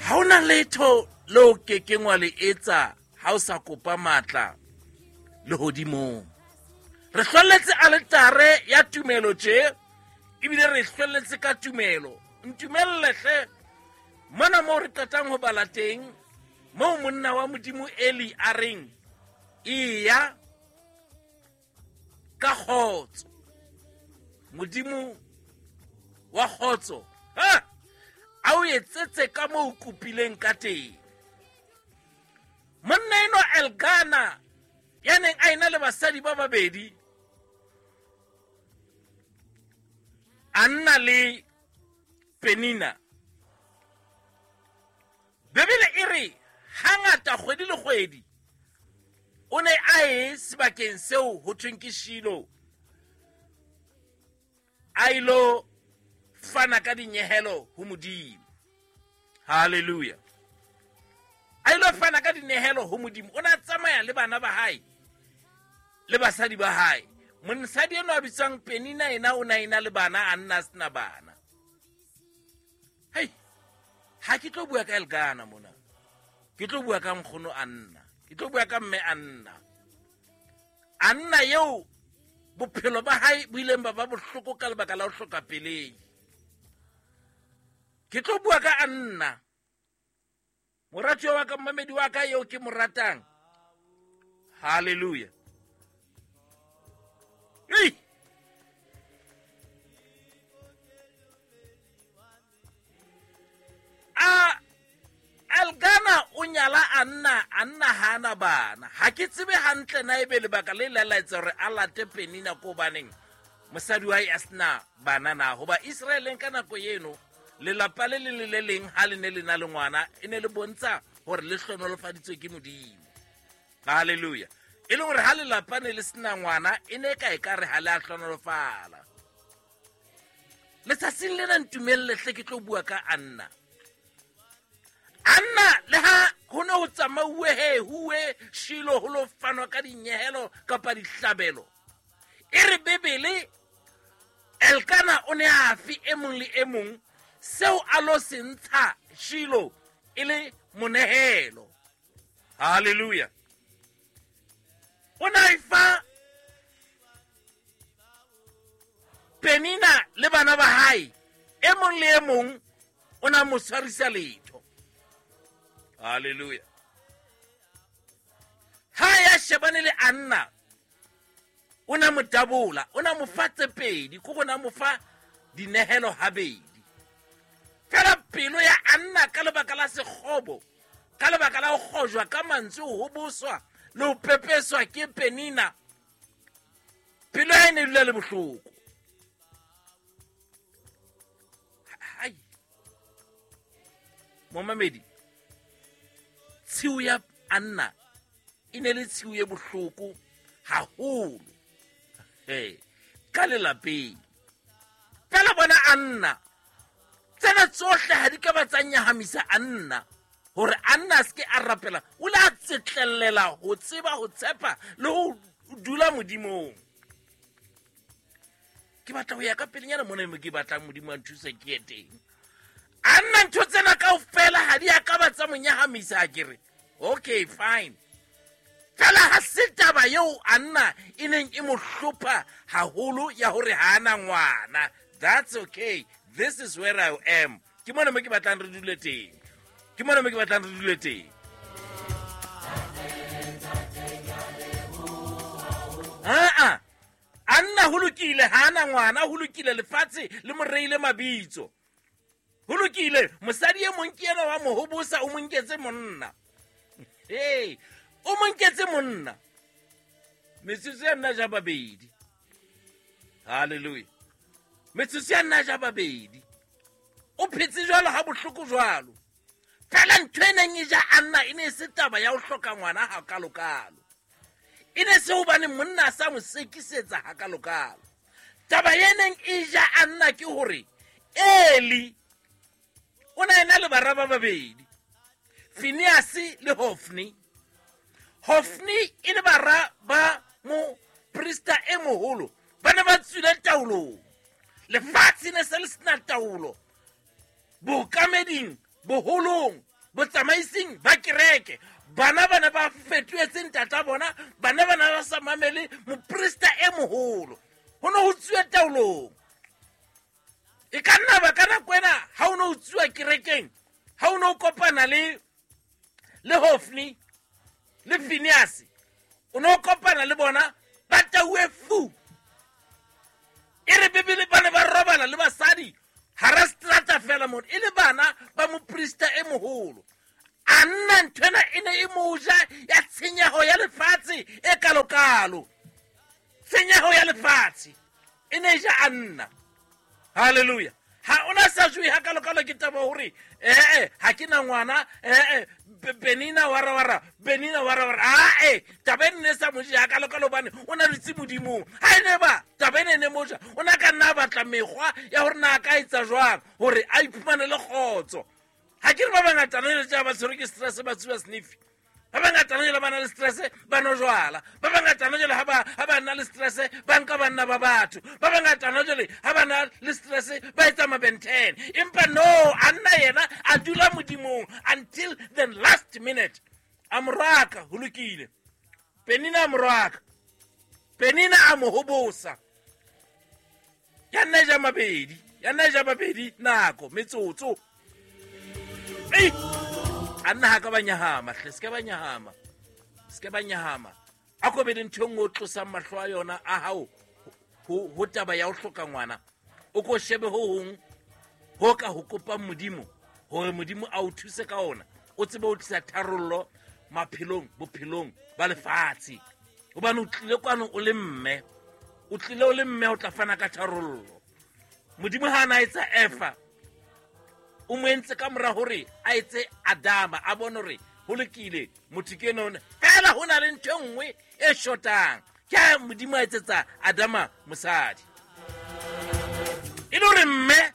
Ha hona letho leo kekeng wa le etsa ha o sa kopa matla lehodimong. Re hlwelletse aletare ya tumelo tje, ebile re hlwelletse ka tumelo. Ntumelle hle mona moo re qetang ho bala teng, moo monna wa Modimo Eli a reng, eya ka kgotso. Modimo wa kgotso, ha a o etsetse ka moo o kopileng ka teng. Monna enwa Elkana ya neng a ena le basadi ba babedi, a nna le Penina. Bibele e re hangata kgwedi le kgwedi o ne a ye sebakeng seo ho thweng ke Shilo, a ilo fana ka dinyehelo ho Modimo. Hallelujah. A ilo fana ka dinehelo ho Modimo. O ne a tsamaya le bana ba hae le basadi ba hae. Mosadi enwa a bitswang Penina ena o ne a ena le bana, a nna a sena bana. Hei, ha ke tlo bua ka Elkana mona, ke tlo bua ka nkgono Anna, ke tlo bua ka mme Anna. Anna eo bophelo ba hae bo ileng ba ba bohloko ka lebaka la ho hloka pelei. Ke tlo bua ka Anna, moratuwa wa ka, mmamedi wa ka eo ke mo ratang. Hallelujah. Ei! A Elkana o nyala Anna, Anna ha ana bana. Ha ke tsebe hantle na ebe lebaka le la laetsa hore a late Penina ko baneng mosadi wa hae a sena bana na. Hoba Israeleng ka nako eno lelapa le leng le le leng ha le ne le na le ngwana e ne le bontsha hore le hlonolofaditswe ke Modimo. Hallelujah. E leng hore ha lelapa ne le sena ngwana e ne ka e ka re ha le a hlonolofala. Letsatsing lena ntumelle hle ke tlo bua ka Anna. Anna le ha ho ne ho tsamauwe he huwe Shilo ho lo fanwa ka dinyehelo kapa dihlabelo, e re Bibele Elkana o ne a fe e mong le e mong seo a lo se ntsha Shilo e le monehelo. Hallelujah. O ne a e fa Penina le bana ba hae, e mong le e mong o ne a mo tshwarisa letho. Hallelujah. Ha ya shebane le Anna, o ne a mo tabola, o ne a mo fa tse pedi, ko go ne a mo fa dinehelo habedi. Fela pelo ya Anna ka lebaka la sekgobo, ka lebaka la ho kgojwa ka mantswe, ho hoboswa le ho pepeswa ke Penina, pelo ya hae ne e dula le bohloko. Hai. Momamedi, tshiu ya Anna e ne le tshiu e bohloko haholo. Hey, ka lelapeng. Fela bona Anna, tsena tsohle ha di ka ba tsa nyahamisa Anna, hore Anna a seke a rapela. O ile a tsetlellela ho tseba, ho tshepa le ho dula Modimong. Ke batla ho ya ka pelenyana mona mo ke batlang Modimo a nthuse ke ye teng. Anna ntho tsena kaofela ha di a ka ba tsa mo nyahamisa, a ke re okay fine. Fela ha se taba eo Anna e neng e mo hlopha haholo ya hore ha ana ngwana. That's okay. This is where I am. Ke mona mo ke batlang re dule teng. Ke mona mo ke batlang re dule teng. Aa, Anna ho lokile, ha ana ngwana, ho lokile, lefatshe le mo reile mabitso. Ho lokile, mosadi e mong ke yena wa mo hobosa, o mo nketse monna. Hey, o mo nketse monna. Metsotso ya nna ja babedi. Hallelujah. Metsotso ya nna ja babedi. O phetse jwalo ha bohloko jwalo. Fela ntho e neng e ja Anna e ne e se taba ya ho hloka ngwana hakalokalo. E ne se hobane monna a sa mo sekisetsa hakalokalo. Taba e neng e ja Anna ke hore Eli o ne a ena le bara ba babedi, Phineas le Hophni. Hophni e le bara ba moprista e moholo, ba ne ba tswile taolong. Lefatshe ne se le sena taolo bookameding, boholong. Botsamaising ba kereke, bana ba ne ba fetohetse ntata bona, bana ba ne ba sa mamele moprista e moholo. Ho ne ho tsuwe taolong. E ka nna ba ka nako ena ha o ne o tsuwa kerekeng, ha o ne o kopana le Hofni le Phineas, o ne o kopana le bona ba tauwe fu. E re Bibele ba ne ba robala le basadi hara strata fela mona, e le bana ba moprista e moholo. A nna nthwena e ne e moja ya tshenyeho ya lefatshe e kalokalo. Tshenyeho ya lefatshe e ne ja a nna. Hallelujah. Ha ona sa jwe ha kalokalo ke taba hore ha ke na ngwana, Penina wara wara, Penina wara wara. Taba e ne sa moja ha kalokalo bane o na le tsimodimo. Ha ene ba taba e ne moja, o na ka nna batla mekgwa ya hore na ka etsa jwang hore a iphumane le kgotso. Ha ke re ba bangata le tja ba tshwerwe ke stress ba tsuba sniff. Ba bangata le ba na le stress ba no jwala. Ba bangata le ha ba na le stress ba nka banna ba batho. Ba bangata le ha ba na le stress ba etsa mabenten. Empa no, a nna yena a dula modimong until the last minute. A moraka ho lokile. Penina a moraka. Penina a mo hobosa. Ya nna ja mabedi, ya nna ja mabedi nako metsotso. Ei! A nna ha ka ba nyahama, hle, se ka ba nyahama. Se ka ba nyahama. A ko be le ntho e nngwe o tlosang mahlo a yona a hao ho taba ya ho hloka ngwana. O ko shebe ho hong ho ka ho kopang Modimo hore Modimo a o thuse ka ona. O tsebe ho tlisa tharollo maphelong, bophelong ba lefatshe. Hobane o tlile kwano o le mme. O tlile o le mme o tla fana ka tharollo. Modimo ha na etsa Eva, o mo entse ka mora hore a etse Adama, a bone hore ho lokile motho ke enwa. Fela ho na le ntho e nngwe e shotang. Ke ha Modimo a etsetsa Adama mosadi. E le hore mme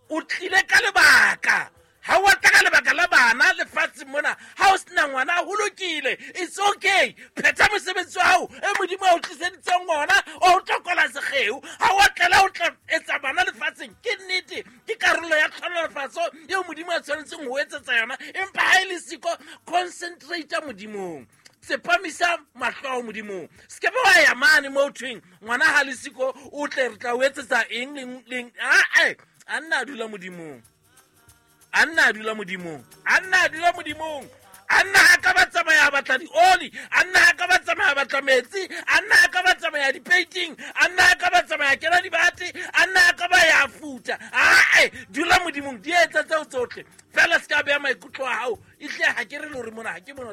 o tlile ka lebaka. Ha o tla ka lebaka la bana lefatsheng mona, ha o sena ngwana ho lokile, it's okay. Phetha mosebetsi wa hao e Modimo a o tliseditseng ona, o tla kola sekgeo. Ha o tlela o tla etsa bana lefatsheng, ke nnete, ke karolo ya tlhonolofatso eo Modimo a tshwanetseng ho etsetsa yona. Empa ha e le siko, concentrate Modimong. Tsepamisa mahlo ao Modimong. Se ke ba wa ya mane mo thweng ngwana ha le siko o tle re tla o etsetsa eng leng. A nna a dula Modimong. A nna a dula Modimong. A nna a dula Modimong. A nna ha ka ba tsamaya batla dioli, a nna ha ka ba tsamaya batla metsi, a nna ha ka ba tsamaya dipeiting, a nna ha ka ba tsamaya kena dibate, a nna ha ka ba ya futa. Dula Modimong, di etsa tseo tsohle. Fela se ka beha maikutlo a hao. Ehlile ha ke re le hore mona ha ke mona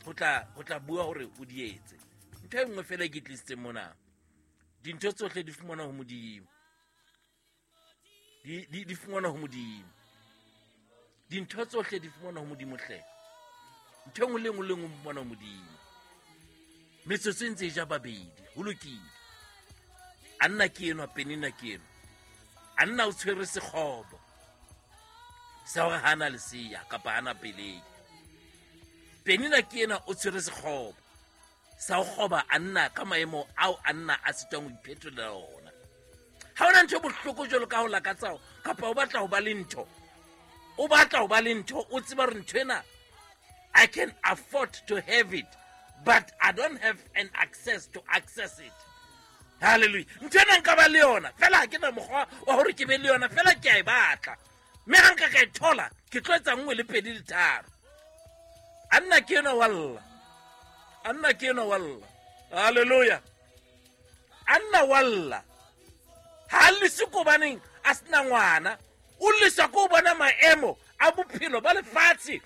o tla bua hore o di etse. Ntho e nngwe fela e ke tlisitseng mona. Dintho tsohle di fumanwa ho Modimo. Di fumanwa ho Modimo. Dintho tsohle di fumanwa ho Modimo hle. Ntho e nngwe le nngwe le nngwe fumanwa ho Modimo. Metsotso e ntse e ja babedi, ho lokile. A nna ke enwa, Penina ke enwa. A nna o tshwere sekgobo sa hore ha na lesea kapa ha na pelei. Penina ke enwa o tshwere sekgobo sa ho kgoba a nna ka maemo ao a nna a sitwang ho iphetolela ona. Ha hona ntho e bohloko jwalo ka ho lakatsa kapa o batla ho ba le ntho. O batla ho ba le ntho, o tseba hore ntho ena I can afford to have it, but I don't have an access to access it. Hallelujah. Ntho ena nka ba le yona, fela ha ke na mokgwa wa hore ke be le yona, fela ke a e batla. Mme ha nka ka e thola, ke tlo etsa nngwe le pedi le tharo. A nna ke enwa wa lla. A nna ke enwa wa lla. Hallelujah. A nna wa lla. Ha a lese ko baneng a sena ngwana. O lesa ko bona maemo a bophelo ba lefatshe.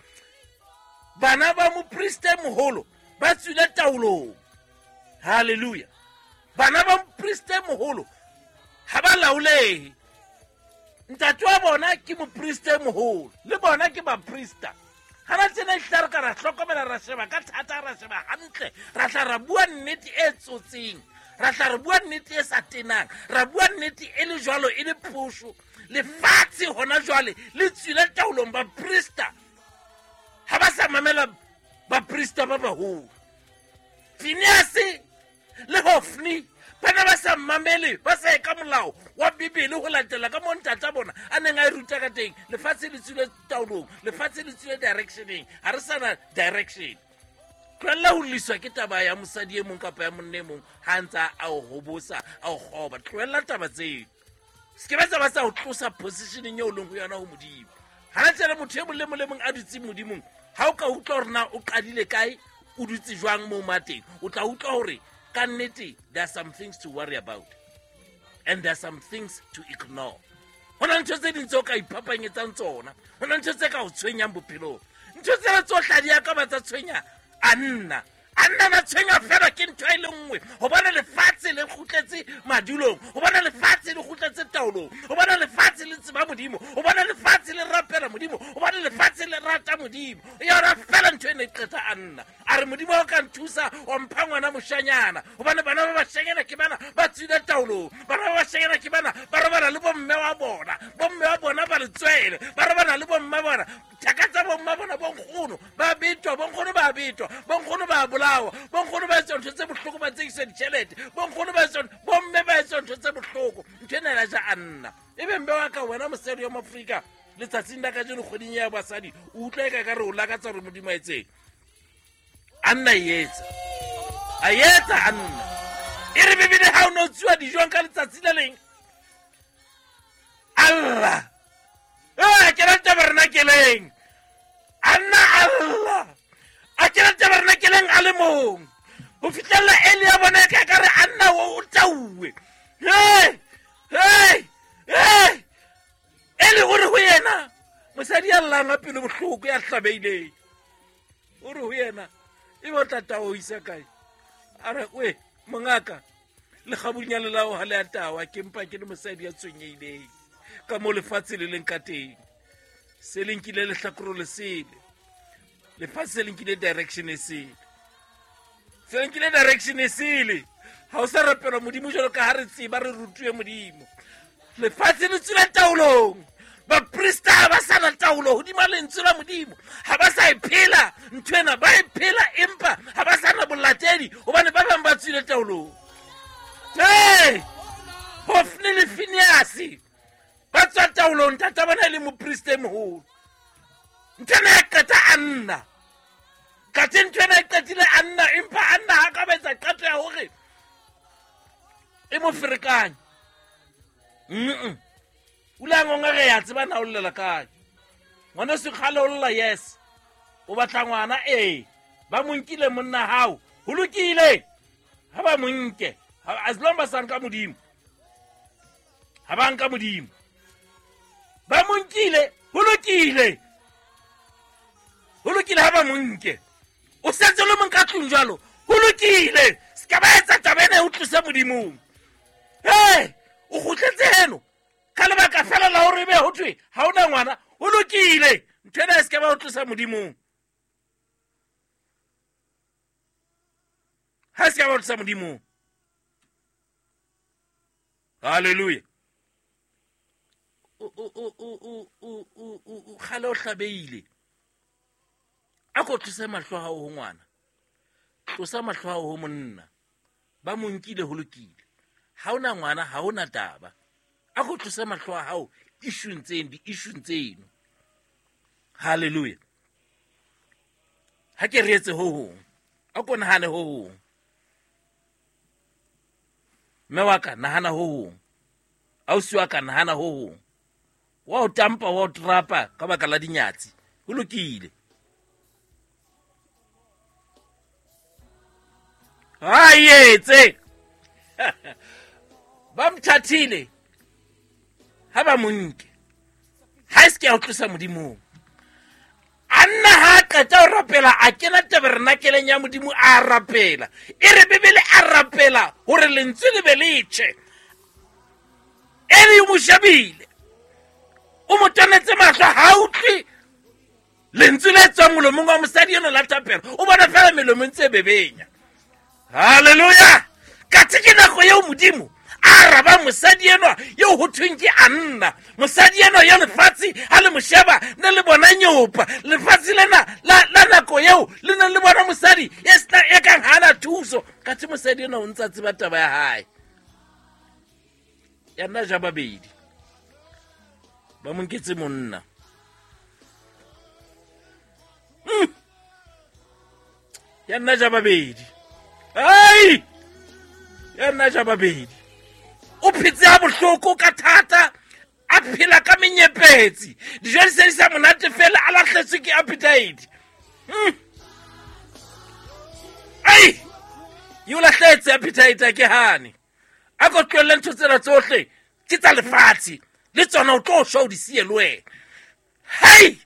Bana ba moprista e moholo ba tswile taolong. Hallelujah. Bana ba moprista e moholo ha ba laolehe. Ntate wa bona ke moprista e moholo, le bona ke baprista. Ha ba tsena ehlile re ka ra hlokomela, ra sheba ka thata, ra sheba hantle, ra tla ra bua nnete e tsotseng, ra tla re bua nnete e sa tenang, ra bua nnete e le jwalo, e le phosho. Lefatshe hona jwale le tswile taolong. Baprista ha ba sa mamela baprista ba baholo. Phineas le Hofni Ba ne ba sa mmamele, ba sa ye ka molao wa Bibele ho latela ka moo ntata bona a neng a e ruta ka teng. Lefatshe le tswile taolong, lefatshe le tswile directioneng, ha re sa na direction. Tlohella ho lliswa ke taba ya mosadi e mong kapa ya monna e mong ha a ntse a o hobosa, a o kgoba. Tlohella taba tseo. Se ke ba tsa ba tsa o tlosa positioneng eo o leng ho yona ho Modimo. Ha tsela motho e mong le mong le mong a dutseng Modimong, ha o ka utlwa hore na o qadile kae, o dutse jwang moo mateng, o tla utlwa hore ka nnete there are some things to worry about and there are some things to ignore. Ho na le ntho tse ding tse o ka iphapanyetsang tsona, ho na le ntho tse ka o tshwenyang bophelong. Ntho tsena tsohle ha di a ka ba tsa tshwenya Anna. Anna na tshwenya fela ke ntho e le nngwe, hobane lefatshe le kgutletse madulong, hobane lefatshe le kgutletse taolong, hobane lefatshe le tseba Modimo, hobane lefatshe le rapela Modimo, hobane lefatshe le rata Modimo. Yona fela ntho e ne e qeta Anna. A re Modimo o ka nthusa wa mpha ngwana moshanyana, hobane bana ba bashanyana ke bana ba tswile taolong, bana ba bashanyana ke bana ba robala le bomme wa bona, bomme wa bona ba letswele, ba robala le bomme bona, thaka tsa bomma bona, bonkgono ba betwa, bonkgono ba betwa, bonkgono ba bolawa, bonkgono ba etswa ntho tse bohloko, ba tsekiswa ditjhelete, bonkgono ba etswa, bomme ba etswa ntho tse bohloko. Ntho ena ya ja Anna. Ebe mme wa ka wena mosadi wa Moafrika letsatsing la kajeno kgweding ya basadi, o utlwa e ka ka re o lakatsa hore Modimo a etseng. Anna e etsa, a etsa Anna. E re Bibele ha o ne o tsuwa dijong ka letsatsi le leng, Allah a kena tabernakeleng, Anna Allah a kena tabernakeleng a le mong ho fihlella Eli ya bona e ka ka re Anna o tauwe. Hey, hey, hey. Eli o re ho yena, mosadi ya llang a pelo bohloko ya hlabeileng, o re ho yena, ebe o tla tawa o isa kae? A re, we mongaka, lekgabunyane la ho ha le a tawa, ke mpa ke le mosadi ya tshwenyehileng ka mo lefatshe le leng ka teng. Se le nkile lehlakore le sele, lefatshe le nkile direction e sele, se le nkile direction e sele. Ha o sa rapelwa Modimo jwalo ka ha re tseba, re rutuwe Modimo. Lefatshe le tswile taolong, baprista ha ba sa na taolo hodima lentswe la Modimo, ha ba sa e phela ntho ena, ba e phela empa ha ba sa na bolatedi hobane ba bang ba tswile taolong. Hey! Hofni le Phineas ba tswa taolong, ntata bona e le moprista e moholo. Ntho ena ya qeta Anna. Kathe ntho ena e qetile Anna, empa Anna ha ka ba etsa qeto ya hore e mo ferekanye. O ile a ngonga re ya tseba na o llela kae. Ngwana se kgale o lla, yes. O batla ngwana, ee. Ba mo nkile monna hao. Ho lokile. Ha ba mo nke. As long ba sa nka Modimo. Ha ba nka Modimo. Ba mo nkile, ho lokile. Ho lokile ha ba mo nke. O setse le mong ka tlung jwalo. Ho lokile. Se ka ba etsa taba ena e o tlose Modimong. Hey, o kgutletse heno ka lebaka fela la hore ebe ho thwe ha ona ngwana. Ho lokile. Ntho ena e se ka ba o tlosa Modimong. Ha se ka ba o tlosa Modimong. Hallelujah. O kgale o hlabeile. A ko tlose mahlo a hao ho ngwana. Tlosa mahlo a hao ho monna. Ba mo nkile, ho lokile. Ha ona ngwana, ha ona taba. A ko tlose mahlo a hao issue-ng tseno, di-issue-ng tseno. Hallelujah. Ha ke re etse ho hong. A ko nahane ho hong. Mme wa ka, nahana ho hong. Ausi wa ka, nahana ho hong. Wa o tampa, wa o trapa ka baka la dinyatsi. Ho lokile. Ha etse. Ba mthathile. Ha ba mo nke. Ha e se ke ya o tlosa Modimong. Anna ha a qeta ho rapela, a kena tabernakeleng ya Modimo, a rapela. E re Bibele a rapela hore lentswe le be le tjhe. Eli o mo shebile, o mo tonetse mahlo, ha utlwe lentswe le tswang molomong wa mosadi enwa la thapelo, o bona fela melomo e ntse e bebenya. Hallelujah. Kathe ke nako eo Modimo a arabang mosadi enwa eo ho thweng ke Anna. Mosadi enwa ya lefatshe ha le mo sheba ne le bona nyopa. Lefatshe lena la nako eo le ne le bona mosadi e sena e kang ha ana thuso. Kathe mosadi enwa o ntsa tseba taba ya hae. Ya nna ja babedi. Ba mo nketse monna. Ya nna ja babedi. Ai! Ya nna ja babedi. O phetse ha bohloko ka thata, a phela ka menyepetsi. Dijo di se di sa monate fela, a lahletswe ke appetite. Ai! E o lahletse appetite a ke hane. A ko tlohelle ntho tsena tsohle ke tsa lefatshe, le tsona o tlo shwa o di siye le wena. Hei!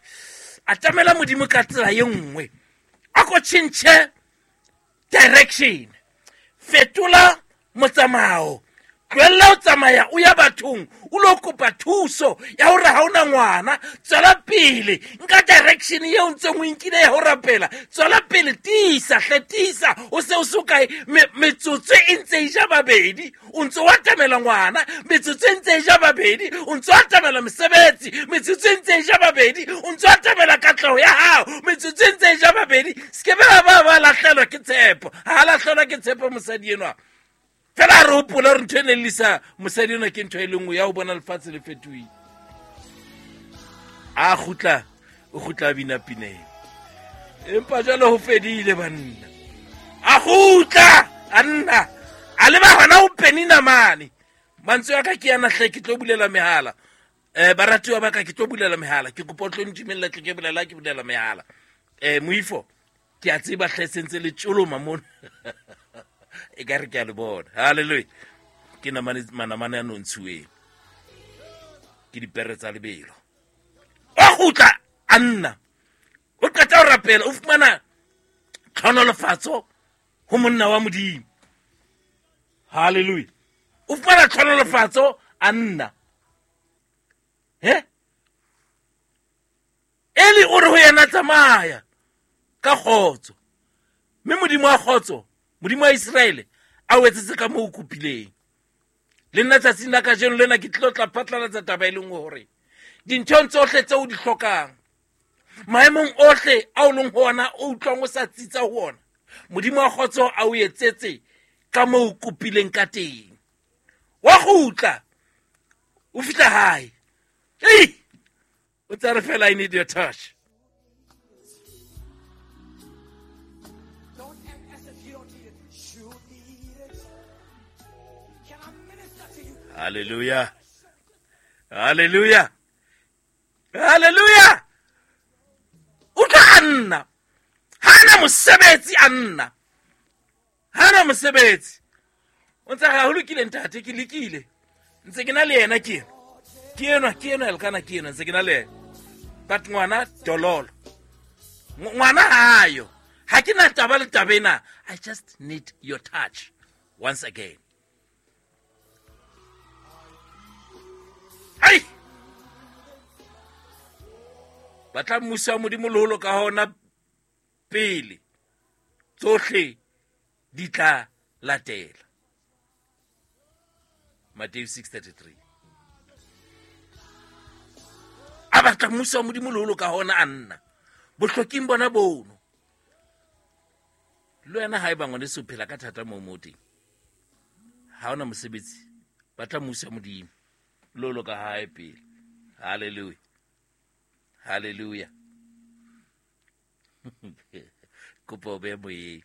Atamela Modimo ka tsela e nngwe. A ko tjhentjhe direction. Fetola motsamao. Tlohella ho tsamaya o ya bathong, o lo kopa thuso ya hore ha ona ngwana. Tswela pele, nka direction eo ntseng o nkile ya ho rapela. Tswela pele, tiisa hle, tiisa. O se o so kae, metsotso e ntse e ja babedi, o ntse o atamela ngwana. Metsotso e ntse e ja babedi, o ntse o atamela mesebetsi. Metsotso e ntse e ja babedi, o ntse o atamela katleho ya hao. Metsotso e ntse e ja babedi. Se ke ba ba ba lahlelwa ke tshepo. Ha lahlelwa ke tshepo mosadi enwa. Fela re hopola hore ntho e neng lisa mosadi enwa ke ntho e le nngwe ya ho bona lefatshe le fetohile. A kgutla, o kgutla a bina pineng. Empa jwale ho fedile banna. A kgutla, a nna, a leba hona ho Penina mane. Mantswe a ka ke yana hle, ke tlo bulela mehala. Baratuwa ba ka, ke tlo bulela mehala. Ke kopa o tlo ntumella tle ke bolela, ke bulela mehala. Moifo, ke a tseba hle sentse le tjoloma mona. E ka re ke a le bona. Hallelujah. Ke namane, manamane a nontshuweng. Ke dipere tsa lebelo. O kgutla a nna. O qeta ho rapela, o fumana tlhonolofatso ho monna wa Modimo. Hallelujah. O fumana tlhonolofatso a nna. He? Eli o re ho yena, tsamaya ka kgotso. Mme Modimo wa kgotso, Modimo wa Iseraele, a o etsetse ka moo o kopileng. Le nna tsatsing la kajeno lena ke tlilo tla phatlalatsa taba e leng hore dinthong tsohle tseo o di hlokang, maemong ohle a o leng ho ona, o utlwang o sa tsitsa ho ona, Modimo wa kgotso a o etsetse ka moo o kopileng ka teng. Wa kgutla, o fihla hae. Ei! O tsa re fela, I need your touch. Don't act as if you don't need it. You need it. Can I minister to you? Hallelujah. Hallelujah. Hallelujah. O tla nna. Ha na mosebetsi a nna. Ha na mosebetsi. O ntse ga ho lokile ntate, ke lekile. Ntse ke na le yena ke ena. Ke enwa, ke enwa, Elkana ke enwa, ntse ke na le yena. But ngwana dololo. Ngwana hayo. Ha ke na taba le taba ena. I just need your touch once again. Ai! Batla mmuso wa Modimo le ho loka hona pele. Tsohle di tla latela. Matthew 6:33. A batla mmuso wa Modimo le ho loka hona a nna. Bohloking bona bono. Le wena ha eba ngwaneso o phela ka thata moo mo teng. Ha ona mosebetsi, batla mmuso wa Modimo le ho loka hae pele. Hallelujah. Hallelujah. Kopa o behe moyeng.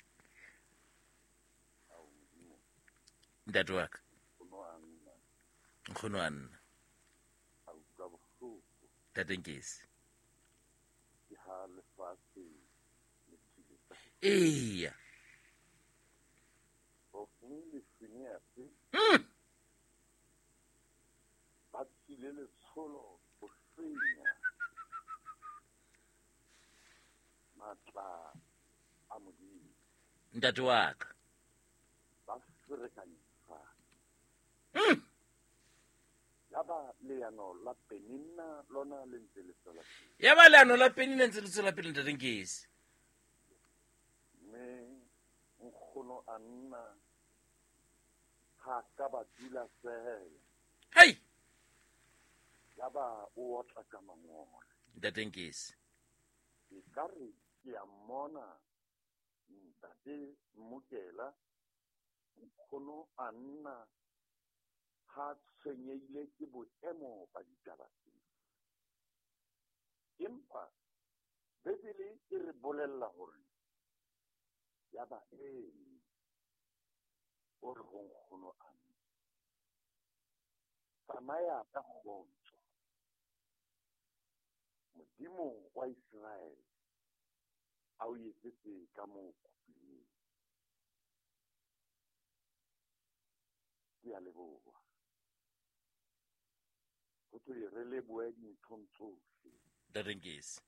Ntate wa ka. Nkgono wa nna. Ntate Nkesi. Eya. Ba tswile letsholo ho senya matla a Modimo. Ntate wa ka. Ba ferekanya lefatshe. Ya ba leano la Penina lona le ntse le tswela pele. Ya ba leano la Penina ntse le tswela pele, ntate Nkesi. Mme nkgono a nna ha ka ba dula fela. Hei! Ya ba o otla ka mangole. Ntate Nkesi. Ke ka re ke a mmona ntate Mmokela, nkgono a nna Ha tshwenyehile ke boemo ba ditaba tsena. Empa Bibele e re bolella hore yaba Eli o re ho nkgono Anna, tsamaya ka kgotso, Modimo wa Iseraele a o etsetse ka moo o kopileng. Ke a leboha. Ho thwe re lebohe dinthong tsohle. Ntate Nkesi.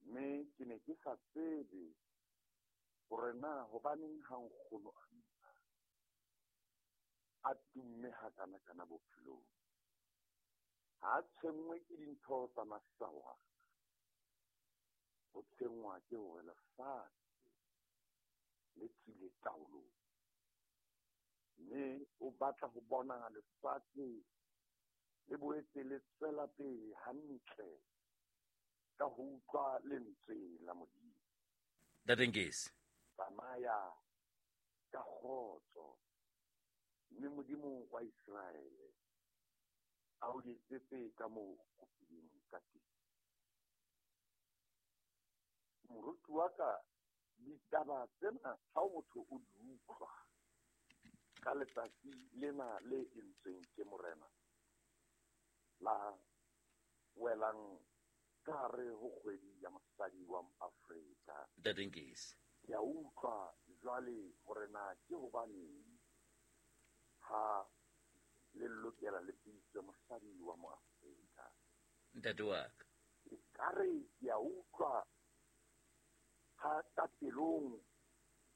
Mme ke ne ke sa tsebe hore na hobaneng ha nkgono Anna a tumme hakana-kana bophelong. Ha a tshwenngwe ke dintho tsa masawana. Ho tshwenngwa ke hore lefatshe le tswile taolong. Mme o batla ho bona lefatshe le boetse le tswela pele hantle ka ho utlwa lentswe la Modimo. Ntate Nkesi. Tsamaya ka kgotso, mme Modimo wa Iseraele a o etsetse ka moo o kopileng ka teng. Moruti wa ka, ditaba tsena ha motho o di utlwa ka letsatsi lena le entsweng ke Morena la welang ka hare ho kgwedi ya mosadi wa Afrika. Ntate Nkesi. Ke a utlwa jwale hore na ke hobaneng ha le lokela le bitswe mosadi wa Moafrika. Ntate wa ka. Ekare ke a utlwa ha ka pelong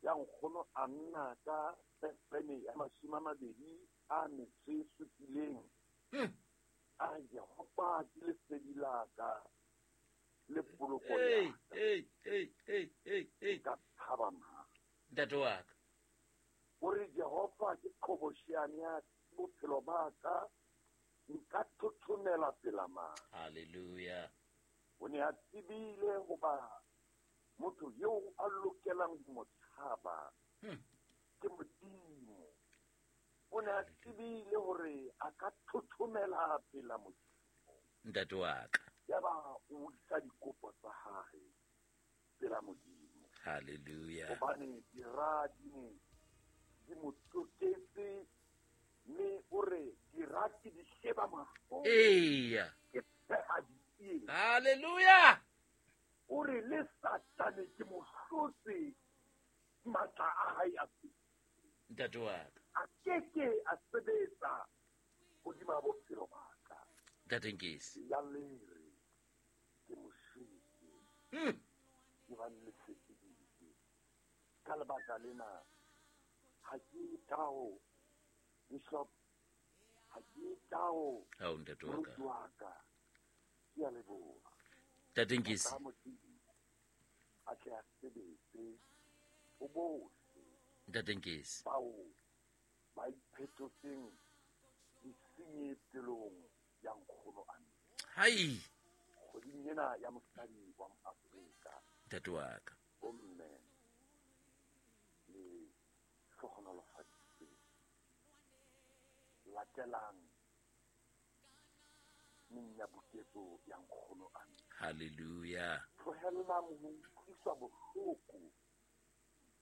ya nkgono a nna ka pene ya 27. A Jehova ke lesedi la ka le poloko ya ka. Ka thaba mang. Ntate wa ka. O re Jehova ke qhobosheane ya bophelo ba ka, nka thothomela pela mang. Hallelujah. O ne a tsebile hoba motho eo a lokelang ho mo tshaba ke Modimo. O ne a tsebile hore a ka thothomela pela Modimo. Ntate wa ka. Yaba o isa dikopo tsa hae pela Modimo. Hallelujah. Hobane dira di ne di mo tloketse, mme o re dira ke di sheba mahlong. Eya. Ke pheha ditsie. Hallelujah. O re le Satane ke mo hlotse matla a hae a pele. Ntate wa ka. A keke a sebetsa hodima bophelo ba ka. Ntate Nkesi. Ya lere ke mo shwetse. Ke ba le sekeditse. Ka lebaka lena ha ke tao Bishop, ha ke tao Ao, ntate wa ka. moruti wa ka. Ke a leboha. Ntate Nkesi. Ka Modimo a tle a sebetse ho bohle Ntate Nkesi. bao ba iphetotseng disenyi pelong ya nkgono a nna. Hai. Kgweding ena ya mosadi wa Moafrika. Ntate wa ka. Bomme le hlohonolofaditswe. Latelang menyabuketso ya nkgono a nna. Hallelujah. Tlohellang ho utlwiswa bohloko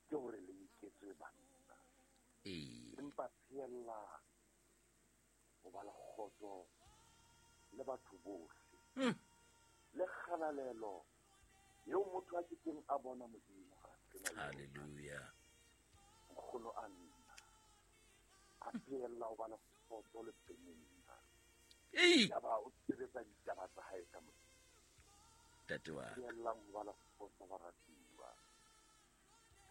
ke hore le nketswe banna. Ee. Empa pheellang ho ba le kgotso le batho bohle. Le kgalalelo eo motho a kekeng a bona Modimo ha a sena yona. Hallelujah. Nkgono a nna a pheella ho ba le kgotso le Penina. Ei. Yaba o sebetsa ditaba tsa hae ka Modimo. Ntate wa ka. Pheellang ho ba le kgotso baratuwa.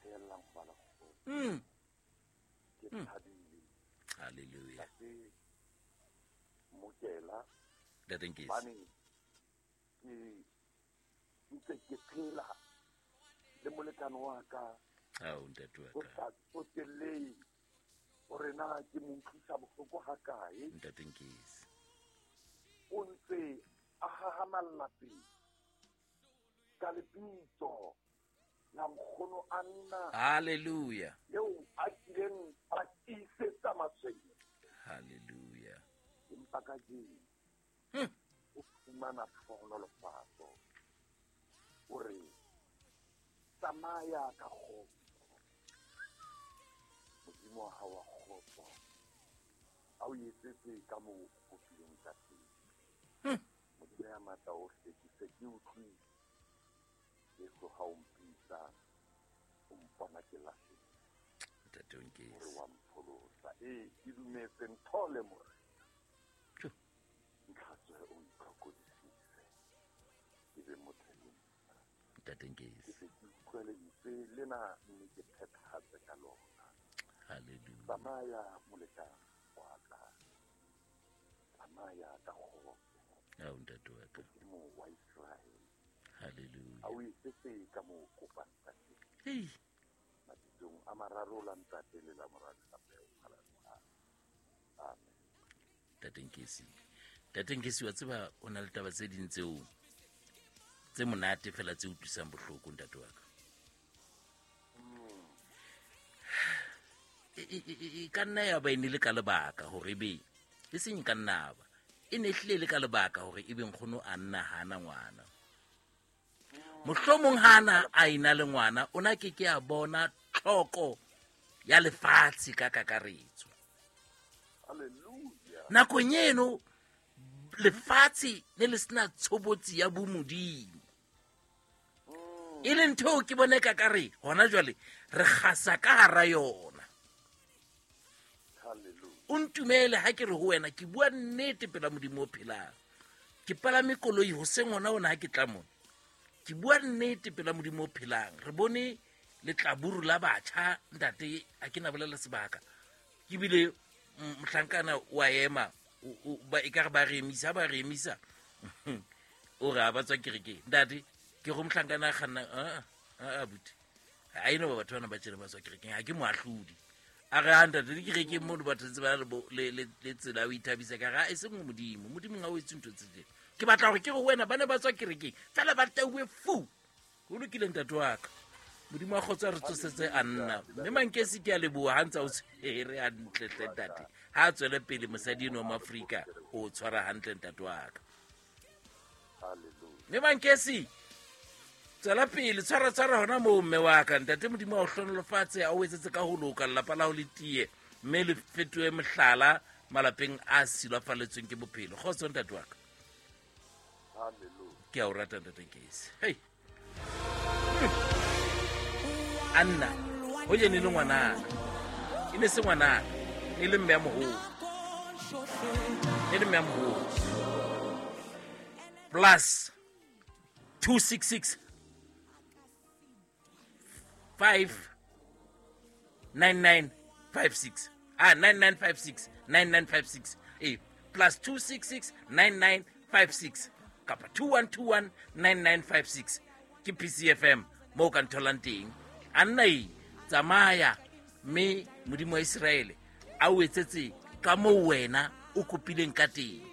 Pheellang ho ba le kgotso. Ke thabile. Hallelujah. Ntate Mokela. Ntate Nkesi. Hobane ke ntse ke phela le molekane wa ka. Ao, ntate wa Ho ka. sa tsotellehe hore na ke mo utlwisa bohloko hakae. Ntate Nkesi. O ntse a hahamalla pele ka lebitso la nkgono a nna. Hallelujah. Eo a kileng a tiisetsa matshwenyeho. Hallelujah. Empa kajeno o fumana tlhohonolofatso. O re tsamaya ka kgotso. Modimo wa hao wa kgotso a o etsetse ka moo o kopileng ka teng. Modimo ya matla ohle, ke se ke utlwile Jesu ha o mpitsa, o mpona ke lahlehile. Ntate o nkese. Hore wa mpholosa. Ee, ke dumetse nthole Morena. Ntlhatswe o ntlhokodisise. Ke be motho e motjha. Ntate nkese. Ke se ke utlwe lentswe lena mme ke phethahatse ka lona. Hallelujah. Tsamaya molekane wa ka. Tsamaya ka kgotso. Ao ntate wa ka. Modimo wa Israele. Hallelujah. A o etsetse ka moo o kopang ka teng. Hei. Mabitsong a mararo la Ntate le la Mora le la Moya o Halalelang. Amen. Ntate Nkesi. Ntate Nkesi, wa tseba o na le taba tse ding tseo tse monate fela tse utlwisang bohloko ntate wa ka. E ka nna ya ba e ne le ka lebaka hore ebe e seng ka nna ba e ne hlile le ka lebaka hore ebe nkgono a nna hana ngwana. Mohlomong hana a ena le ngwana o na ke ke a bona tlhoko ya lefatshe ka kakaretso. Hallelujah. Nakong eno lefatshe ne le sena tshobotsi ya bomodimo. E leng ntho eo ke bone ka kare hona jwale re kgasa ka hara yona. Hallelujah. O ntumele ha ke re ho wena ke bua nnete pela Modimo o phelang. Ke palame koloi hoseng hona hona ha ke tla mona. Ke bua nnete pela Modimo o phelang. Re bone letlaburu la batjha ntate ha ke na bolela sebaka. Ke bile mohlankana wa ema ba ekare ba re emisa, ba re emisa. O re ha ba tswa kerekeng. Ntate ke go mohlankana a kganna a buti. Ha eno ba batho bana ba tjena ba tswa kerekeng, ha ke moahlodi. A re ha ntate di kerekeng mono batho ntse ba le tsela ya ho ithabisa ka re, ha e seng ho Modimo. Modimo ha o etse ntho tse tjena. Ke batla hore ke re ho wena ba ne ba tswa kerekeng fela ba tauwe fu. Ho lokile ntate wa ka. Modimo wa kgotso a re tsosetse a nna. Mme Mankesi ke a leboha ha ntse o tshwere hantle hle ntate. Ha a tswele pele mosadi eno wa Moafrika o tshwara hantle ntate wa ka. Mme Mankesi tswela pele, tshwara tshwara hona moo mme wa ka. Ntate Modimo a o hlohonolofatse, a o etsetse ka ho loka, lelapa la hao le tiye mme le fetohe mohlala malapeng a silafaletsweng ke bophelo. Kgotso ntate wa ka. Hallelujah. Ke a o rata ntate Nkesi. Hey. Anna, ho jene le ngwanana. E ne se ngwanana, e le mme ya moholo. E le mme ya moholo. Plus 266 5 9956. 9956 9956. Plus 266 9956 kapa 2121 9956 ke PCFM moo ka ntholang teng. Anna e tsamaya mme Modimo wa Israele a o etsetse ka moo wena o kopileng ka teng.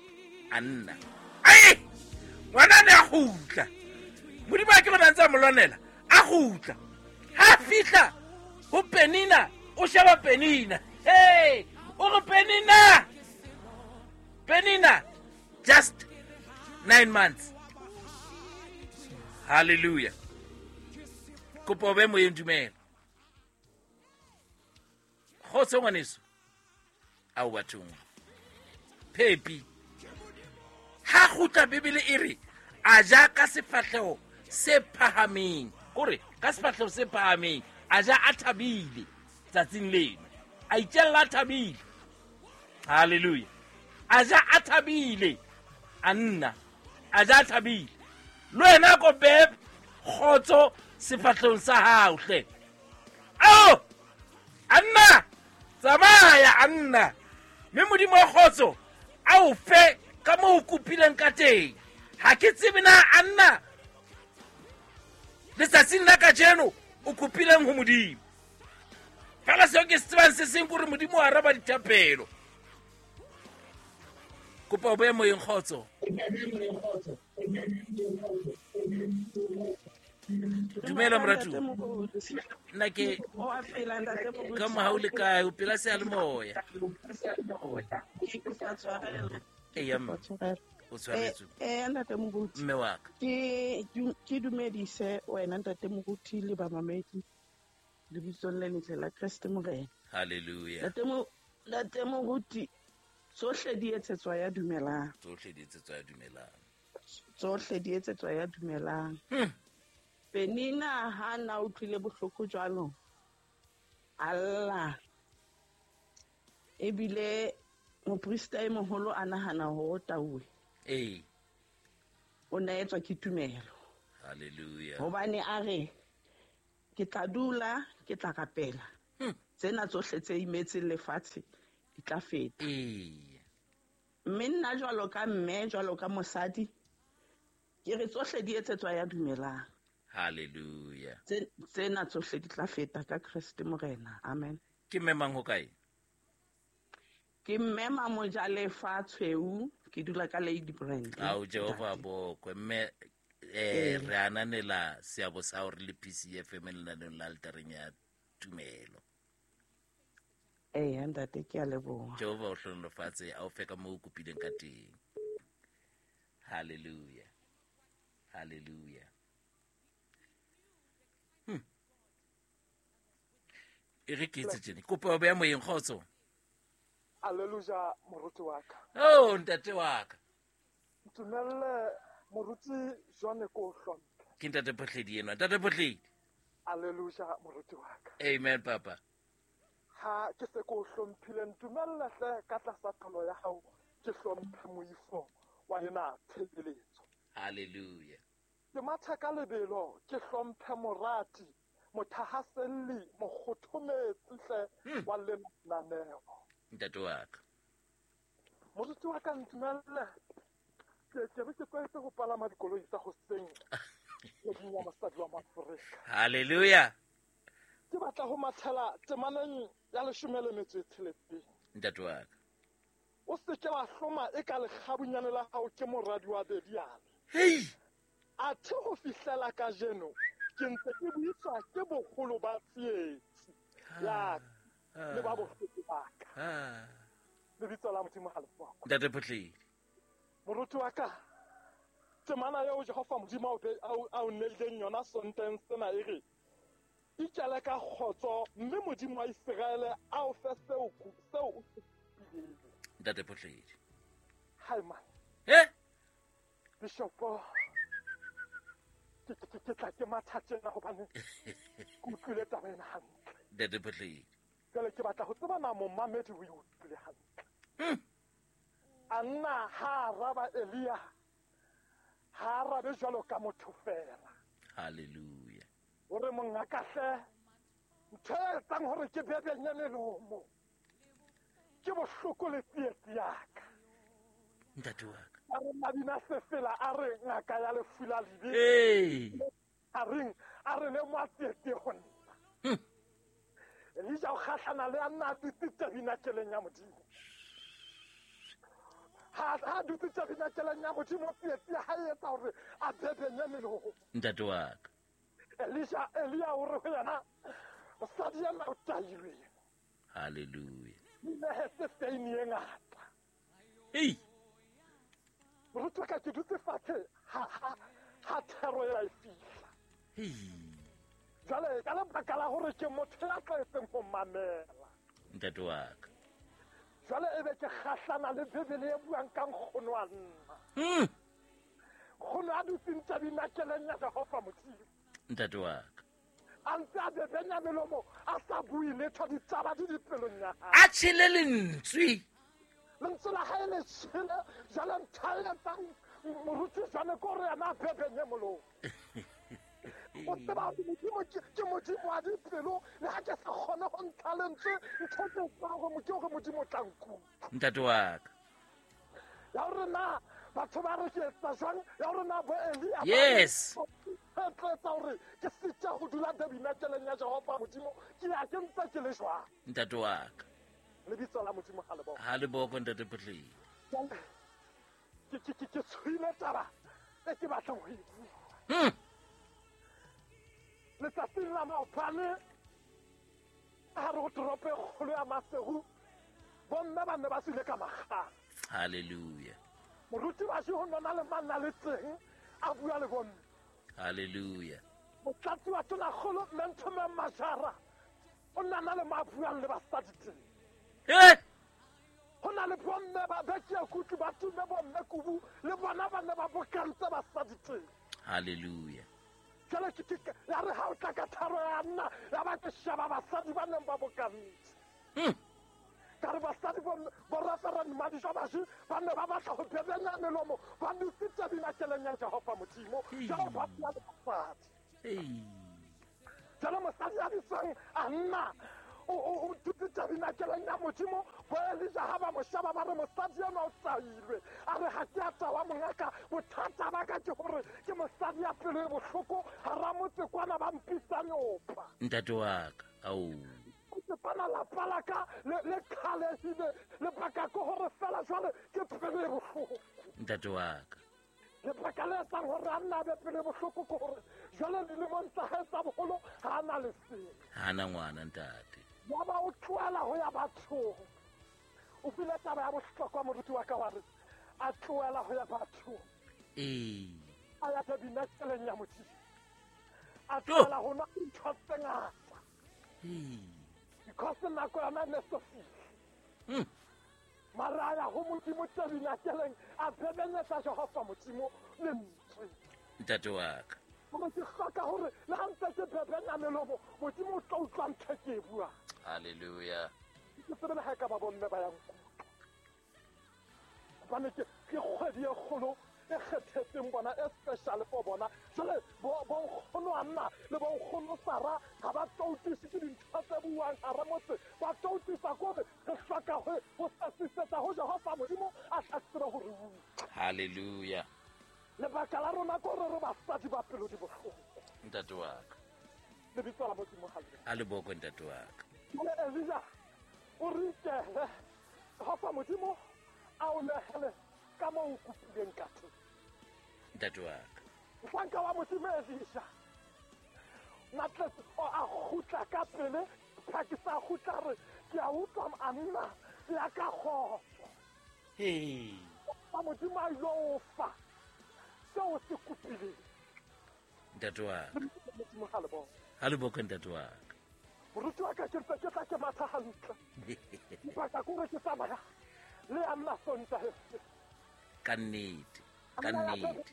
Anna. Ai! Ngwana ne a kgutla. Modimo a ke bona ntse a mo lwanela. A kgutla. Ha fihla ho Penina, o sheba Penina. Hey, o re Penina. Penina just 9 months. Hallelujah. Kopo be moyeng dumela. Kgotso ngwaneso. Ao bathong. Phepi. Ha kgutla Bibele e re a ja ka sefahleho se phahameng. Kore ka sefahleho se phahameng a ja a thabile tsatsing leno. A itjella a thabile. Hallelujah. A ja a thabile. A nna a ja a thabile. Le wena ko beb kgotso sefahlehong sa hao hle. Ao! Anna! Tsamaya Anna. Mme Modimo wa kgotso a o fe ka moo o kopileng ka teng. Ha ke tsebe na Anna letsatsing la kajeno o kopileng ho Modimo. Fela seo ke se tsebang se seng ke hore Modimo o araba dithapelo. Kopa o boye moyeng kgotso. Dumela moratuwa. Nna ke ka mohau le kae o pela seyalemoya. Eya mme. O tshwaretswe. Ntate Moruti. Mme wa ka. Ke dumedise wena ntate Moruti le bamamedi lebitsong le letle la Kreste Morena. Hallelujah. Ntate Moruti, tsohle di etsetswa ya dumelang. Tsohle di etsetswa ya dumelang. Tsohle di etsetswa ya dumelang. Penina ha na utlwile bohloko jwalo. Allah. Ebile moprista e moholo a nahana hore o tauwe. Ee. O na etswa ke tumelo. Hallelujah. Hobane a re ke tla dula, ke tla rapela. Tsena tsohle tse imetseng lefatshe di tla feta. Ee. Mme nna jwalo ka mme, jwalo ka mosadi, ke re tsohle di etsetswa ya dumelang. Hallelujah. Tsena tsohle di tla feta ka Kreste Morena. Amen. Ke mme mang ho kae? Ke mme Mamojalefa Tshweu, ke dula ka Lady Brand. Ao Jehova bokwe mme re ananela seabo sa hore le PCFM lenaneong la altareng ya tumelo. Ee, ntate ke a leboha. Jehova o hlohonolofatse a o fe ka moo o kopileng ka teng. Hallelujah. Hallelujah. E re ke etse tjena. Kopo ya moyeng kgotso. Hallelujah moruti wa ka. Oh ntate wa ka. Ntumelle moruti Jwane ko hlomphe. Ke ntate Phohledi enwa. Ntate Phohledi. Hallelujah moruti wa ka. Amen papa. Ha ke se ko hlomphile ntumelle hle ka tlasa tlolo ya hao ke hlomphe moifo wa ena tshebeletso. Hallelujah. Ke matha ka lebelo ke hlomphe morati mothahaselli mokgothometsi hle wa lenaneo. Ntate wa ka. Moruti wa ka ntumelle ke re ke tlwaetse ho palama dikoloi tsa hoseng kgweding ya mosadi wa Maafrika. Hallelujah. Ke batla ho mathela temaneng ya 16. Ntate wa ka. O se ke wa hloma e ka lekgabunyane la hao ke moradi wa Bediale. Hei! Athe ho fihlela kajeno ke ntse ke buiswa ke boholo ba tsietsi ya le ba bohloko ba ka. Lebitso la Modimo ha le bokwe. Ntate Phohledi. Moruti wa ka, temana eo Jehova Modimo a o neileng yona Sonteng sena e re ikele ka kgotso mme Modimo wa Iseraele a o fe seo o se kopileng. Ntate Phohledi. Hai man. Bishopo. Ke tla ke matha tjena hobane ke utlwile taba ena hantle. Ntate Phohledi. Jwale ke batla ho tseba na momamedi o e utlwile hantle. A nna ha araba Elia, ha arabe jwalo ka motho fela. Hallelujah. Hore mongaka hle, ntho e etsang hore ke bebenye melomo ke bohloko le tsietsi ya ka. Ntate wa ka. A re mabina sefela a re ngaka ya lefu la libe. Ee. A reng a re le mo tsietsi ho nna. Elija o kgahlana le a nna a dutse tabinakeleng ya Modimo. Ha dutse tabinakeleng ya Modimo tsietsi ya hae etsa hore a bebenye melomo. Ntate wa ka. Elisha Elia o re ho yena mosadi ena o tailwe. Hallelujah. Nehetse feini e ngata. Hei. Moruti wa ka ke dutse fatshe ha thero ela e fihla. Hei. Jwale ka lebaka la hore ke motho ya tlwaetseng ho mamela. Ntate wa ka. Jwale ebe ke kgahlana le Bibele e buang ka nkgono wa nna. Nkgono a dutseng tabinakeleng ya Jehova Modimo. Ntate wa ka. A ntse a bebenya melomo a sa bue letho ditaba di dipelong ya hae. A tjhele lentswe. Lentswe la hae le tjhele jwale ntho e etsang moruti jwale ke hore yena a bebenye molomo. O tseba hore Modimo ke Modimo wa dipelo le ha ke sa kgone ho ntsha lentswe ntho e ke tsebang hore ke hore Modimo o tla nkutlwa. Ntate wa ka. Ya hore na batho ba re ke etsa jwang, ya hore na bo Elia. Yes. Tla hore ke sitja ho dula tabinakeleng ya Jehova Modimo ke ya ke ntse ke le jwang. Ntate wa ka. Lebitso la Modimo ha le bokwe. Ha le bokwe ntate Phohledi. Ke tshwile taba e ke batlang ho e bua. Hopola maobane ha re ho toropo e kgolo ya Maseru, bomme ba ne ba tswile ka makgala. Halleluja. Moruti wa ho nona le manna le teng a bua le bomme. Halleluja. Motlatsi wa tonakgolo mme Nthomeng Majara o nna le mo a buang le basadi teng. Ho na le bomme ba bekia kutlwe ba tume bomme kubu le bona ba ne ba bokantse basadi teng. Halleluja. Jwale ke ya re ha o tla ka tharo ya nna ya ba ke sheba basadi ba neng ba bokantse. Ka re basadi bo Reverend Madijo Bashi ba ne ba batla ho bebenya melomo ba dutse tabernakeleng ya Jehova Modimo. Jwale ba bua le basadi. Jwale mosadi ya bitswang a nna o dutse tabernakeleng ya Modimo, bo Elija ha ba mo sheba ba re mosadi enwa o tailwe. A re ha ke a tawa mongaka, bothata ba ka ke hore ke mosadi ya pelo e bohloko hara motse kwana ba mpitsa nyopa. Ntate wa ka, ao. Kwana lapa la ka le kgalehile, lebaka ke hore fela jwale ke pelo e bohloko. Ntate wa ka. Lebaka le etsang hore a nna be pelo e bohloko ke hore jwale dilemong tsa hae tsa boholo ha a na lesea. Ha na ngwana ntate. Ya ba o tlohela ho ya bathong. O buile taba ya bohlokwa moruti wa ka wa re a tlohela ho ya bathong. A ya tabernakeleng ya Modimo. A tlohela ho nwa dintho tse ngata. Because nako yona ne so fihle. Mara a ya ho Modimo tabernakeleng a bebenyetsa Jehova Modimo lentswe. Ntate wa ka. Gore ke hloka hore le ha ntse ke bebenya melomo, Modimo o tla utlwa ntho e ke e buang. Halleluja. Ke tsebe le ha e ka ba bomme ba ya nkutlwa. Hobane ke kgwedi e kgolo e kgethetseng bona, e special for bona. Jwale bonkgono Anna le bonkgono Sara ha ba toutiswe ke dintho tse buang hara motse. Ba toutiswa ke hore re hloka ho sesisetsa ho Jehova Modimo a tla tsebe ho re utlwa. Halleluja. Lebaka la rona ke hore re basadi ba pelo di bohloko. Ntate wa ka. Lebitso la Modimo ha le. A le bokwe ntate wa ka. Jwale Elija o re ikele Jehova Modimo a o nehele ka moo o kopileng ka teng. Ntate wa ka. Mohlanka wa Modimo Elija Matletse o a kgutla ka pele, phakisa a kgutla re ke a utlwa a nna ya ka kgotso. Ba Modimo a ilo o fa seo se kopileng. Ntate wa ka. Modimo ha le bokwe. Ha le bokwe ntate wa ka. Moruti wa ka ke ntse ke tla ke matha hantle. Lebaka ke hore ke tsamaya le a nna Sontaha. Ka nnete, ka nnete.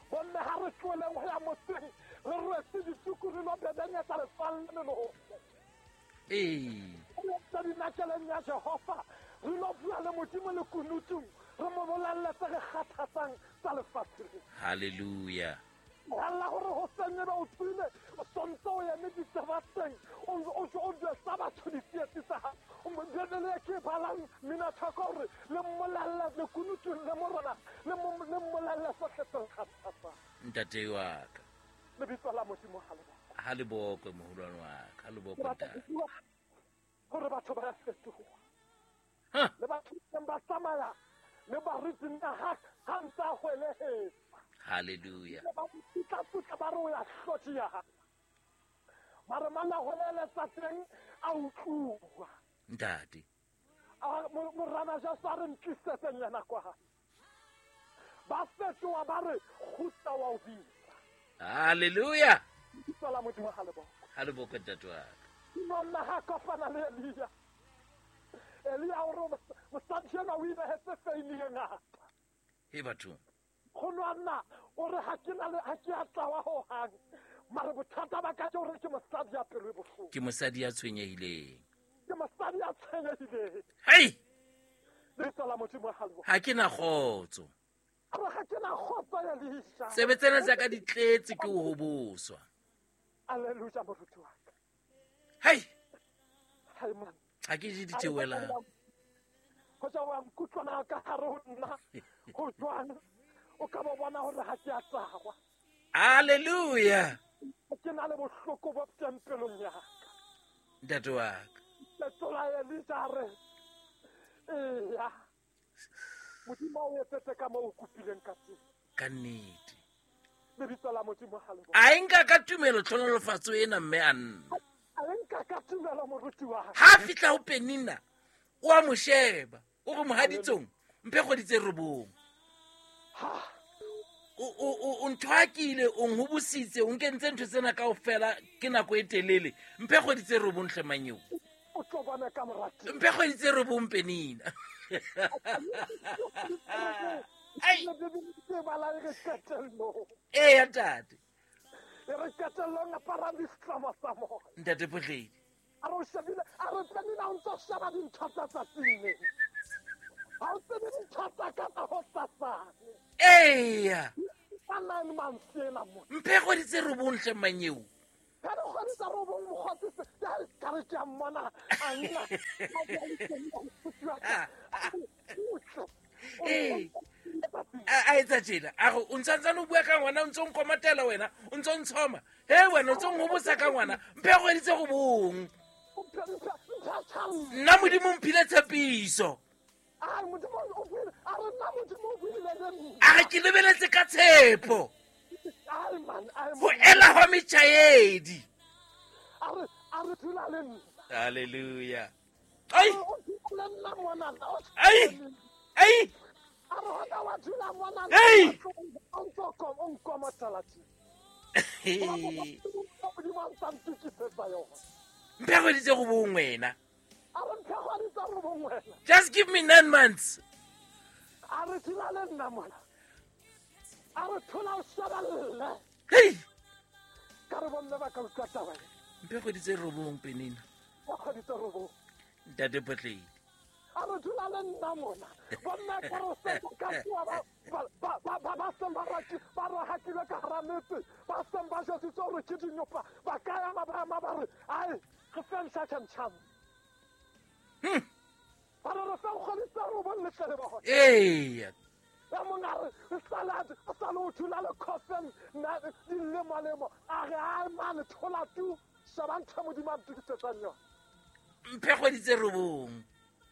Bomme ha re tlohelleng ho ya motseng, re rwetse dituku re lo bebenyetsa letswalle melomo. Re tabernakeleng ya Jehova, re lo bua le Modimo le kunutung, re mo bolelle tse re kgathatsang tsa lefatshe lena. Halleluja. Mohalla hore ho seng ebe o tswile, o sontse o eme diterateng, o jwetsa batho ditsietsi tsa hao. Bibele e ke e balang Minathoko hore le mmolelle lekunutung le morena, le mmolelle sohle tse kgathatsang. Ntate wa ka. Lebitso la Modimo ha le bokwe. Ha le bokwe moholwane wa ka, ha le bokwe ntate. Hore batho ba fetoha. Le batho ba tsamaya le baruti nna ha ntse a hwelehetsa. Halleluja. Ba putla ba re o ya hlotia. Mara mana hweleletsa teng a utluwa. Ntate. Morena Jesu a re ntlisetseng yena kwa. Ba fetoha ba re kgutla wa o bitsa. Halleluja. Lebitso la Modimo ha le bokwe. Ha le bokwe ntate wa ka. Monna ha kopana le Elia. Elia o re mosadi enwa o inehetse feini e ngata. He bathong. Nkgono wa nna o re ha ke na le ha ke a tlawa hohang. Mara bothata ba ka ke hore ke mosadi ya pelo e bohloko. Ke mosadi ya tshwenyehileng. Ke mosadi ya tshwenyehileng. Hei! Lebitso la Modimo ha le bokwe. Ha ke na kgotso. A re ha ke na kgotso Elisha. Tsebe tsena tsa ka di tletse ke ho hoboswa. Alleluia moruti wa ka. Hei! Hai man. Ha ke je ditheohelang. Ho ja wa nkutlwana ka hare ho nna. Ho jwang? O ka ba bona hore ha ke a tsawa. Alleluia. Ke na le bohloko bo teng pelong ya ka. Ntate wa ka. Letsola Elija a re, eya. Modimo o etsetse ka moo o kopileng ka teng. Ka nnete. Lebitso la Modimo ha le A e nka ka tumelo tlhonolofatso ena mme Anna. A e nka ka tumelo moruti wa ka. Ha fihla ho Penina, o a mo sheba, o re mohaditsong, mphe kgwedi tse 9. O nthwakile, o nhobositse, o nkentse ntho tsena kaofela ke nako e telele. Mphe kgwedi tse 9 hle manyeo. O tlo bona ka morati. Mphe kgwedi tse 9 Penina. Ai. Eya ntate. E re qetellong aparang ditlamo tsa moya. Ntate Phohledi. A re o shebile, a re Penina o ntso sheba dintho tsa tsatsing le. Ha o tsebe dintho tsa ka tsa hosasane. Eya. Ka 9 months ena mo. Mphe kgwedi tse 9 hle manyeo. Ka dikgwedi tsa 9 mokgotsi se, ka re ke a mmona, a nna. Ee. A etsa tjena, a re o ntsantsane o bua ka ngwana, o ntso nkomatela wena, o ntso ntshoma. He wena o ntso nhobosa ka ngwana, mphe kgwedi tse 9. Nna Modimo mphile tshepiso. A Modimo o buile, a re nna Modimo o buile le nna. A re ke lebeletse ka tshepo. Ai man, ai Ho ela hwa metjhaedi. A re dula le nna. Hallelujah. Ai. O dula le nna ngwana. Ai. Ai. A re hona wa dula ngwana. Ei. O ntso kom, o nkomotela tje. Modimo a ntsa ntokisetsa yona. Mphe kgwedi tse 9 wena. A re mphe kgwedi tse 9 wena. Just give me 9 months. A re dula le nna mona. A re thola o shebelle. Hey. Ka re bomme ba ka utlwa taba e. Mphe kgwedi tse 9 Penina. Mphe kgwedi tse 9. Ntate Phohledi. A re dula le nna mona. Bomme ka re se ka tsoa ba seng ba raki, ba rohakilwe ka hara metse, ba seng ba jwetsitswe hore ke dinyopa, ba ka ema ba ema ba re, ai, re feng second chance. Ba re re feng kgwedi tse 9 le tle le bona. Eya. Ya mong a re, salad, o sale o thula le coffin, nna dilemolemo. A re, ai mane, thola tu, sheba ntho e Modimo a ntokisetsang yona. Mphe kgwedi tse 9.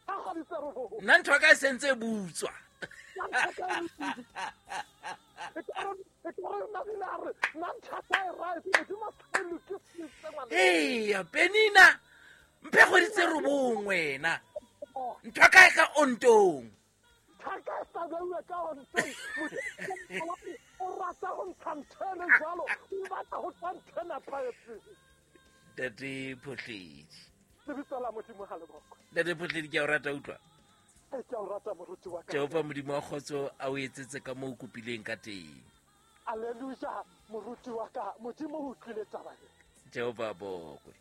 Ka kgwedi tse 9. Nna ntho ya ka e sentse e butswa. Nna ntho ya ka e E ka re nna bile a re, nna ntho ya ka e right, Modimo a sa e lokisitse ngwana. Eya, Penina, mphe kgwedi tse 9 wena. Ntho ya ka e ka ontong. Ntho ya ka e sa beuwe ka ontong. Modimo o rata ho ntsha ntho e le jwalo, o batla ho tswa ntho e nepahetseng. Ntate Phohledi. Lebitso la Modimo ha le bokwe. Ntate Phohledi, ke a o rata utlwa. Ke a o rata moruti wa ka. Jehova Modimo wa kgotso a o etsetse ka moo o kopileng ka teng. Hallelujah, moruti wa ka. Modimo o utlwile taba e. Jehova a bokwe.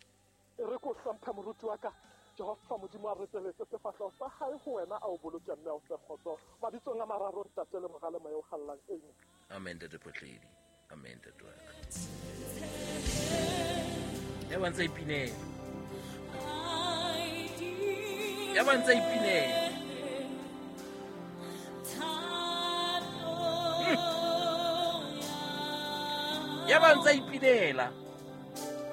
E re ko hlomphe moruti wa ka. Jehova Modimo a reteletse sefahleho sa hae ho wena, a o boloke mme a o fe kgotso. Mabitsong a mararo, Ntate le Mora le Moya o Halalelang. Amen. Amen, Ntate Phohledi. Amen, Ntate wa ka. Ya ba ntse ipinela. Ya ba ntse ipinela. Ya ba ntse ipinela.